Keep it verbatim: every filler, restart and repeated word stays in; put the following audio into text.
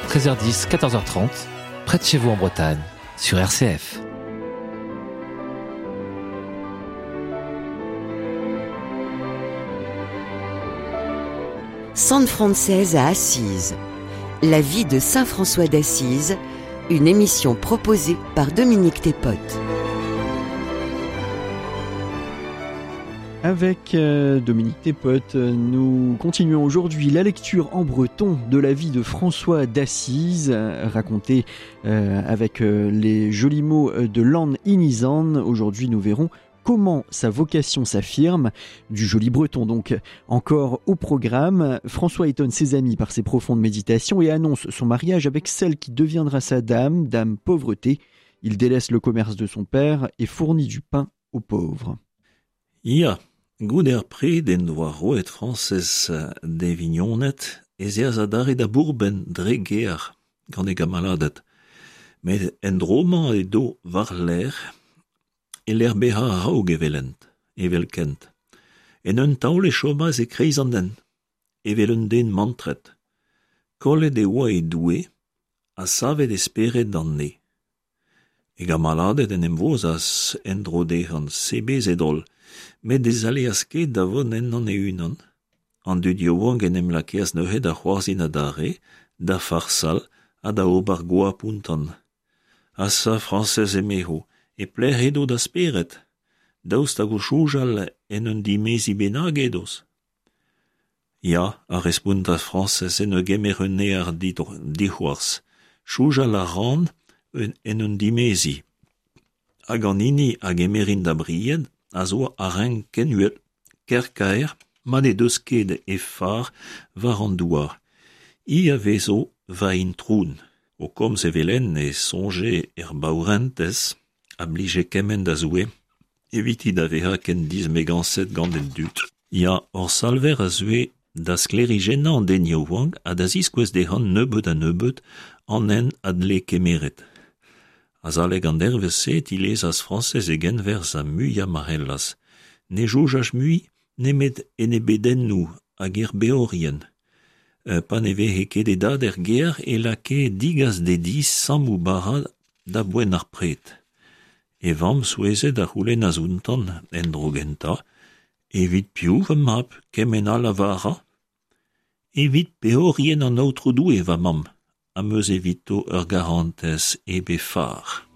treize heures dix, quatorze heures trente, près de chez vous en Bretagne, sur R C F. Sant Frañsez à Assise. La vie de Saint François d'Assise, une émission proposée par Dominique Thépote. Avec, euh, Dominique Thépote, nous continuons aujourd'hui la lecture en breton de la vie de François d'Assise, racontée, euh, avec, euh, les jolis mots de Lan Inizan. Aujourd'hui, nous verrons comment sa vocation s'affirme, du joli breton donc. Encore au programme, François étonne ses amis par ses profondes méditations et annonce son mariage avec celle qui deviendra sa dame, dame pauvreté. Il délaisse le commerce de son père et fournit du pain aux pauvres. Ya, goude ar pred en doa roet Frañsez d'e vignoned ez eas adarre da bourben dre gear gant e gamaladed. Met en dro-mañ edo war lerc'h e lec'h bezañ a-raok evelent, evelkent. En un taol e chomas e kreiz an den, evel un den mantret. Kollet e oa e doue, ha savet e spered d'an ne. E gamaladed en em vozas en dro dezhan sebezet holl, met ne zaleas ket da vont ennon e-unan. An dud yaouank en em lakeas neuze da c'hoarzhin adarre, da farsal ha da ober goap ountan. Asa Frañsez emezho, e pelec'h edo da spered, daoust hag o soñjal en un dimezi bennak edoz. Ya, a respontas Frañsez en ur gemer un near dic'hoarzh. Soñjal a ran en un dimezi. Hag an hini a gemerin da bried a zo a renk ken uhel, ker kaer, ma ne deus ket e far war an douar. I a vezo va introun. O komz evel-henn e soñje er baourentez, a blije kement da Zoue, eviti da vezañ ken dismegañset gant an dud. Ya, hor salver a zeue da sklêrijennañ an den yaouank ha da ziskouez dezhañ nebeut ha nebeut an hent a dle kemeret. Azalek an dervezh-se tilezas Frañsez e genwerzh ha muiañ ma c'hellas. Ne soñjas mui nemet en e bedennoù hag er beorien. Pa ne veze ket e dad er gêr e lakae digas d'e di sammoù bara da boent ar pred. E vamm souezhet a c'houlennas ountan en dro gentañ, evit piv va mab kement all a vara? Evit peorien an Aotrou Doue va mamm, am eus evito ur garantez hep he far.